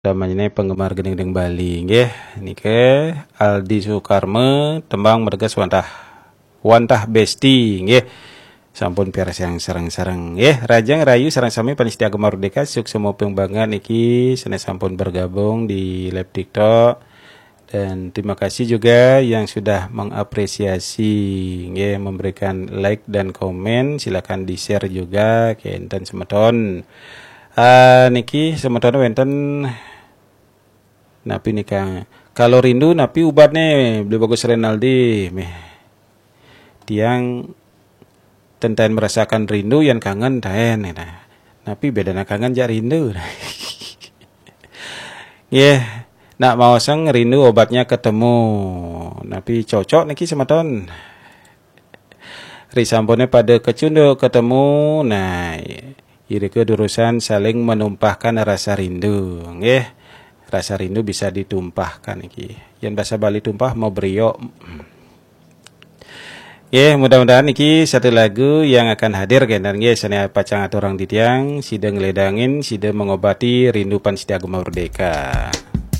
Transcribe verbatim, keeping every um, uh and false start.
Utamanya penggemar gending-gending Bali nggih. Niki Aldi Sukarma, tembang merga wantah, wantah besti nggih. Sampun piarsayang yang sareng-sareng nggih. Rahajeng rahayu sareng sami panitia Gema Merdeka, suksma banget niki sané sampun bergabung di live TikTok. Dan terima kasih juga yang sudah mengapresiasi nggih, memberikan like dan komen. Silakan di-share juga kénten semeton. Ah, niki semeton wénten napi nika? Kalau rindu napi ubatné, Beli Bagus Renaldi? Méh. Tiang ten taén merasakan rindu, yén kangen taén, nah. Napi bédana kangen jak rindu? Nggih, nak maosang rindu obatnya ketemu. Napi cocok niki semeton? Ri sampuné pada kecunduk ketemu, nah, irika durusang saling menumpahkan rasa rindu, nggih. Rasa rindu bisa ditumpahkan niki. Yén basa Bali tumpah, mabriok. Nggih, mudah-mudahan niki satu lagu yang akan hadir kénten nggih, sané pacang aturang titiang, sida ngledangin, sida mengobati rindu panitia Gema Merdeka.